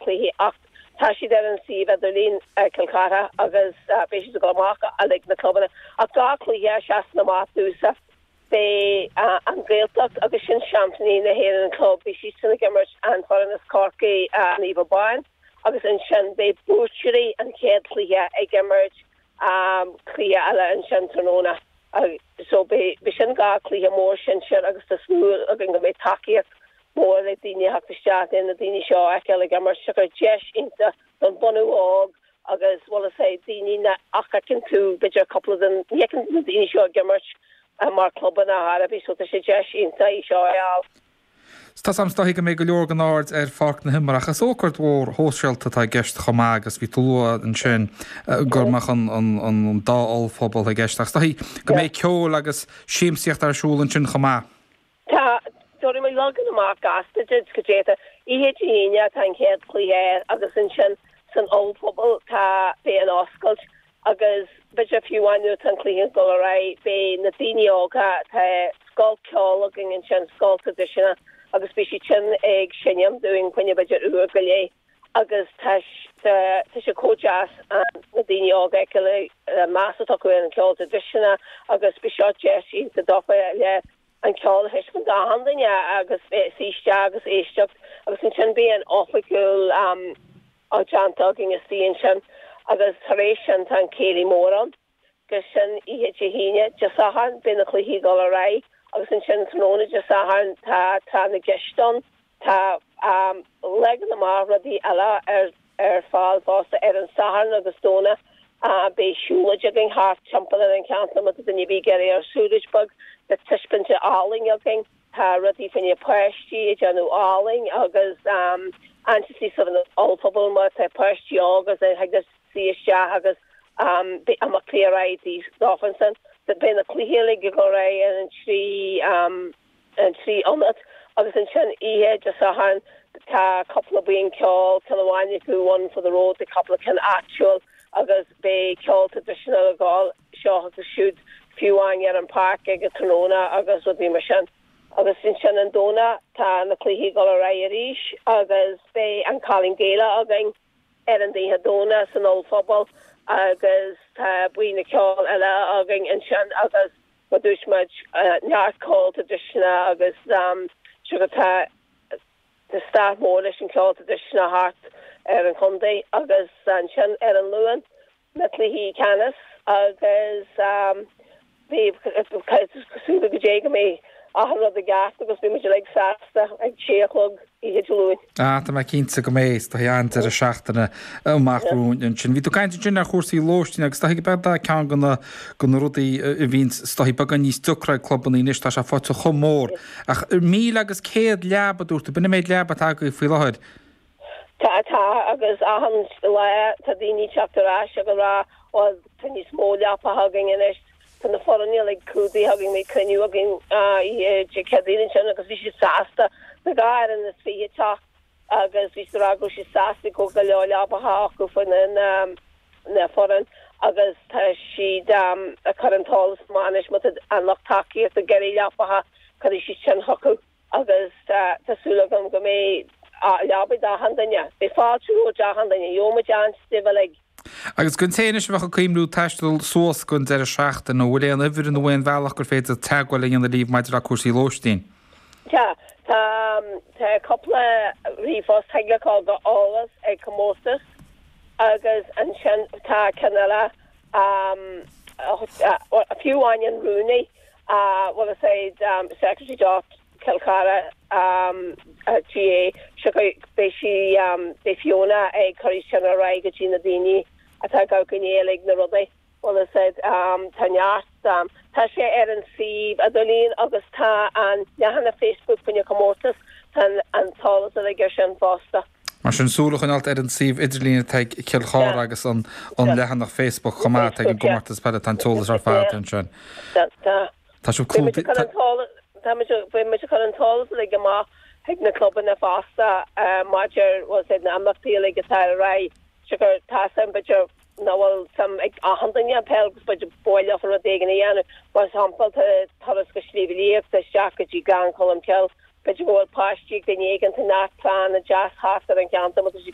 cluichí ach tá siad ar an suíomh idirlín Cill Chartha agus beidh siad ag dul amach uilig na clubanna ach 2 cluiche a seasann amach domhsa beidh an Ghaeltacht agus sin seaimpíní na hÉireann an club beidh siadsan ag imirt an foireann as Corcaigh Naomh Abán agus ansin beidh buaiteoirí an chéad chluiche ag imirt cluiche eile ansin tráthnóna. So beidh sin 2 cluiche mór sinsir agus tá súil againn go mbeidh tacaíocht mhór le daoine a theacht isteach le na daoine seo a fheiceáil ag imirt. Siocair deis iontach don bunadh óg agus bhfuil fhios a'd daoine nach fheiceann tú b'fhéidir cúpla den ní fheiceann na daoine seo ag imirt mar clubanna ar chor ar bith so tá sé deis iontach í seo a fháil. Tá 's a'm is dóichí go mbeidh go leor den aird ar Pháirc na hImeartha ach is ócáid mhór shóisialta atá i gceist chomh maith agus bhí tú ag lua ansin go mbeadh an dá ollphuball i gceist ach is dóichí go mbeidh ceol agus siamsaíocht ar siúl ansin chomh maith. Tá, tabharfaidh mé leagan amach gasta duit goidé tá. Oíche Dé hAoine tá an chéad chluiche air agus ansin san ollphuball tá, beidh an oscailt agus b'fhéidir fiú amháin nuair atá an cluiche ag dul ar aghaidh beidh na daoine óga, tá scoil ceoil againn ansin, scoil traidisiúnta agus beidh siad sin ag seinm dúinn fá choinne b'fhéidir uair go leith agus tá tá sé chomh deas na daoine óga a fheiceáil an meas atá acu ar an cheol traidisiúnta agus beidh seo deis iontach dófa le an ceol a thaispeáint d'achan duine agus suí isteach agus éisteacht agus ansin beidh an oifigiúil á déanta againn istigh ansin agus tar éis sin tá an céilí mór ann agus sin oíche Dé hAoine. Dé Sathairn beidh na cluichí ag dul ar aghaidh agus ansin tráthnóna Dé Sathairn tá tráth na gceist ann. Tá leagan amach rudaí eile ar ar fáil fosta ar an Satharn agus Domhnach. Beidh siúlóid againn thart timpeall ar an cheantar má tá duine ar bith ag iarraidh ar siúlóid beag. Tá taispeántas ealaíne againn. Tá rudaí fá choinne páistí ag déanamh ealaín agus ansin san ollphuball má tá páistí óg agus thig leo suí isteach agus beidh imeachtaí ar aghaidh dófa ansin. Beidh na cluichí uilig ag dul ar aghaidh ar an 3 an 3 ionad agus ansin oíche Dé Sathairn tá cúpla buíon ceoil, ceann amháin acu One for the Road, tá cúpla ceann áitiúil agus beidh ceol traidisiúnta ag gabháil seo agus siúd fiú amháin ar an pháirc ag an tráthnóna agus rudaí mar sin. Agus ansin an Domhnach tá na cluichí ag dul ar aghaidh arís agus beidh an Cailín Gaelach againn ar an oíche Domhnach san ollphuball agus tá buíon ceoil eile againn ansin agus Mar dúirt muid, neart ceol traidisiúnta agus siocair tá stair mhór leis an cheol traidisiúnta thart ar an chontae agus ansin ar an Luan na cluichí ceannais agus bhí cosúil go dté go mbeidh achan rud i gceart agus beidh muid uilig sásta ag sé a chlog oíche Dé Luain. Ah, tá mé cinnte go mbeidh, is dóichí an-deireadh seachtaine amach romhainn ansin. Bhí tú ag caint ansin ar chúrsaí lóistín agus is dóichí go b'é ceann de na, de na rudaí a bhíonn is dóichí beagán níos deacra ag clubanna anois, tá sé faighte chomh mór. Ach 1,100 leaba, a dúirt tú, b'in an méid leaba atá agaibh faoi láthair. Tá, tá, agus achan lá tá daoine ag teacht ar ais ag rá, bhuel, tá níos mó leapacha againn anois, tá na foirne uilig clúdaithe againn, bhí cruinniú againn oíche Dé Céadaoin ansin agus bhí siad sásta na 22 fhoireann teacht agus bhí siad ag rá go raibh siad sásta go go leor leapacha acu fá na na foireann agus tá siad ag cur an t-eolas amach anois má tá an lucht tacaíochta ag iarraidh leapacha cuirfidh siad sin chucu. agus tá súil agam go mbeidh leabaidh d'achan duine. Beidh fáilte romhat d'achan duine. Gheobhaidh muid an-stuif uilig. Agus don té anois a bheadh ag cuimhniú taisteal suas don deireadh seachtaine, an bhfuil aon uimhir nó aon bhealach gur féidir teagmháil a dhéanamh libh maidir le cúrsaí lóistín? Tá. Tá tá cúpla ríomhphost thig leat dul go eolas ag comórtas agus ansin tá ceann eile fiú amháin an rúnaí bhfuil a fhios a'd secretary dot Cill Chartha GAA siocair beidh sí beidh Fiona ag cur sin ar aghaidh go dtí na daoine atá ag gabháil go néal ag na rudaí bhfuil a fhios a'd tá neart tá sé ar an suíomh idirlín agus tá an leathanach Facebook faoina comórtas tá an t-eolas uilig ar sin fosta. Mar sin, súil a choinneáilt ar an suíomh idirlín atá ag Cill Chartha agus an leathanach Facebook chomh maith atá ag an gcomórtas peile, tá an t-eolas ar fad ansin. Tá sibh clúdaithe. Beidh muid ag cur an t-eolas uilig amach chuig na clubanna fosta maidir bhfuil a fhios a'd na imeachtaí uilig atá ar aghaidh. Siocair tá suim b'fhéidir nach bhfuil suim ag achan duine i peil agus b'fhéidir ba mhaith leofa rud éigin a dhéanamh. Mar shampla tá turas go Sliabh Liag, tá isteach go dtí Gleann Cholm Cille. B'fhéidir go bhfuil páistí ag duine éigin, tá neart pleananna deas thart ar an cheantar má tá siad.